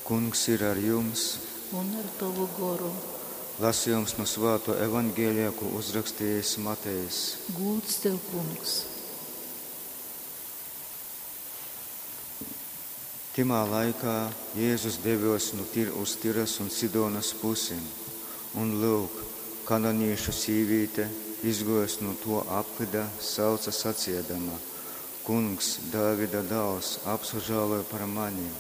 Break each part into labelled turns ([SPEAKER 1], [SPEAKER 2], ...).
[SPEAKER 1] Kungs ir ar jums!
[SPEAKER 2] Un ar tovu goru.
[SPEAKER 1] Lasījums nu Svāto Evangelija, ko uzrakstījis Matejs.
[SPEAKER 2] Gūds tev, Kungs!
[SPEAKER 1] Timā laikā Jēzus devies nu tir uz Tiras un Sidonas pusi, un lūk, kananīšu sīvīte, izguojusi nu to apvyda, sauca saciedama: Kungs, Dāvida dāls, apsažāloj par mani!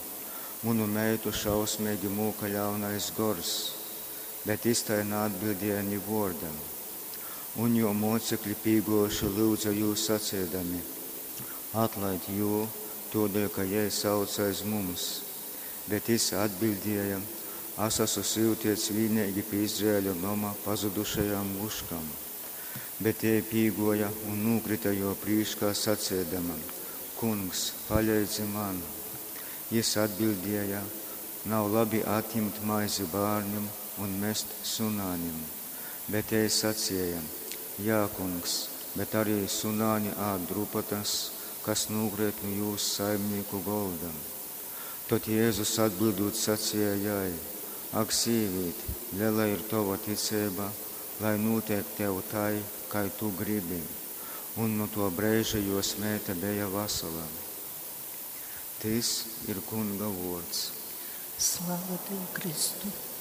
[SPEAKER 1] Munu meitu šausmīgi mūka ļaunais gors. Bet jis tai naatbildēja ni vuorda. Un juo muocekļi pīguojuši lyudza jū saciedami: Atlaid jū, tuodēļ, ka jei sauc aiz mums. Bet jis atbildēja: As asu syutiets vīneigi pi Izraeļa noma pazudušajām vuškām. Bet jei pīguoja un nūkrita juo prīškā saciedama: Kungs, paleidzi man! Jis atbildēja: Nav labi atjimt maizi bārnim un mest sunānim. Bet jei sacieja: Jā, kungs, bet arī sunāni ād drupatas, kas nūkreit nu jūs saimnīku golda. Tod Jēzus atbildūt sacieja jai: Ak, sīvīt, lela ir tova ticeiba, lai nūtiek tev tai, kai tu gribi. Un nu to breiža juos meita beja vasala. Tys ir Kunga vuords.
[SPEAKER 2] Slava tev, Kristu!